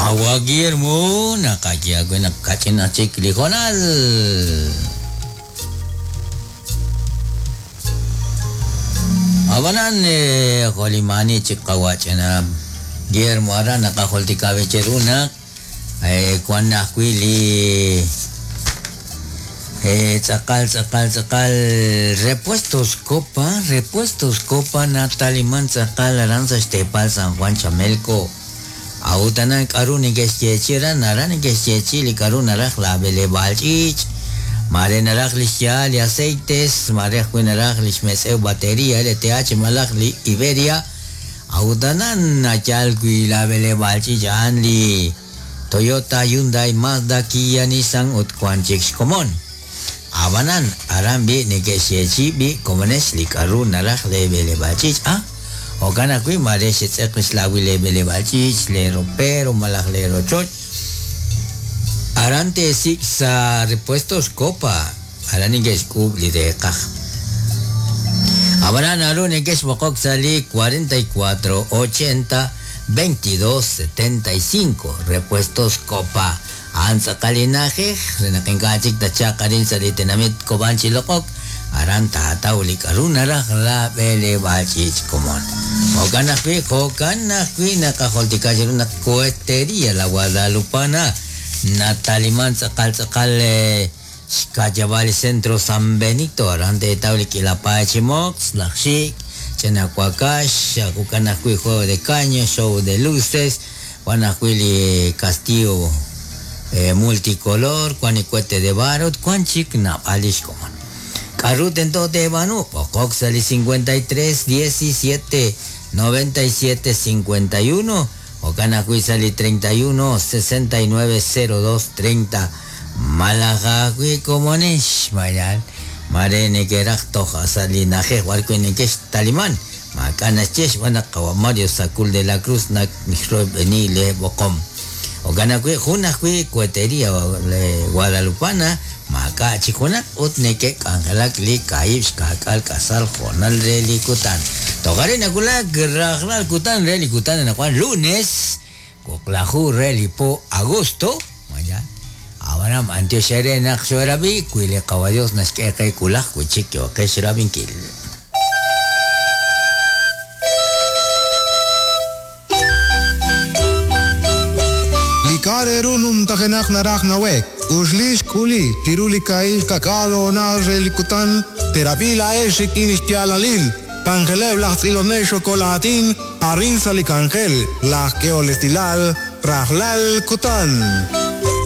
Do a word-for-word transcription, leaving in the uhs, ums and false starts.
Qawa Guillermo naqaye naq kach'in chik li hoonal. Abanan jolimani chik qawach'ina Guillermo ara naqajultika cheruna kwan ajwi' li tz'aqal tz'aqal tz'aqal repuestos Copa, repuestos Copa nataliman tz'aqal aran sa' xteepal San Juan Chamelco. Autanan k'aru neke'xyeechi aran aran neke'xyeechi li k'aru naraj la b'eleb'aal ch'iich', mare naraj li xyaal li aceites, mare ajwi' naraj li xmetz'ew batería L T H malaj li Iberia. Autanan nachal wi la b'eleb'aal ch'iich' a'an li Toyota, Hyundai, Mazda, Kia, Nissan ut wan chik xkomon. Abanan aran bi neke'xyeechi bi komonex li k'aru naraj le b'eleb'aal ch'iich', ah. Jo'kan ajwi' mare xetz'eq xlawil le b'eleb'aal ch'iich', le ropero malaj le rochoch. Aran teesik' sa' repuestos Copa, aran neke'xk'uub' li reeqaj. Abanan naru neke'xb'oqok sa' li cuarenta y cuatro ochenta veintidós setenta y cinco, repuestos Copa. A'an tz'aqal li na'ajej, re naq ink'a' chik tachaq arin sa' li tenamit Cobán chiloq'ok, aran taataw li k'aru naraj la b'eleb'aal ch'iich' komon. Jo'kan ajwi', jo'kan ajwi' naqajultika chiru naq cohetería la Guadalupana, nataliman tz'aqal tz'aqal xka'yab'al centro San Benito, aran teetaw li k'ilapay chi mox, laj xik', ch'inakuakax, jo'kan ajwi' juego de caño, show de luces, wan ajwi' li castillo eh, multicolor, wan li cohete de barro, wan chik naab'al li xkomon. K'aru tento teeb'aanu, b'oqok sa' li cincuenta y tres diecisiete noventa y siete cincuenta y uno, jo'kan ajwi' sa' li treinta y uno sesenta y nueve cero dos treinta. Malaj ajwi' komonex, mayal, mare neke'raj toj sa' li na'ajej b'ar wi' neke'xtaliman. Maak'a' naxye xb'aan naq qawa Mario Sacul de la Cruz nak nixroyb'eni le b'oqom. Jo'kan ajwi' jun ajwi' cohetería le Guadalupana, maak'a' chik junaq ut neke'k'anjelak li kaahib' xka'k'aal k'asal jo'nal re li kutan. Toj arin nawulak rajlal kutan re li kutan anaqwan lunes, wuqlaju re li po agosto, mañana. Abanam antiox ere naq xorabi wi li qawa Dios naxk'e qe kulaj wi chik yo'qex rabinkil. Kareru numtajenak naraj nawek, uxlix kuli, tiruli kail kakalo na relikutan, terapila eshik inixtialalil, kanjelev laj tz'ilonej xokolatin, arin salikanjel, laj keolestilal, rajlal kutan.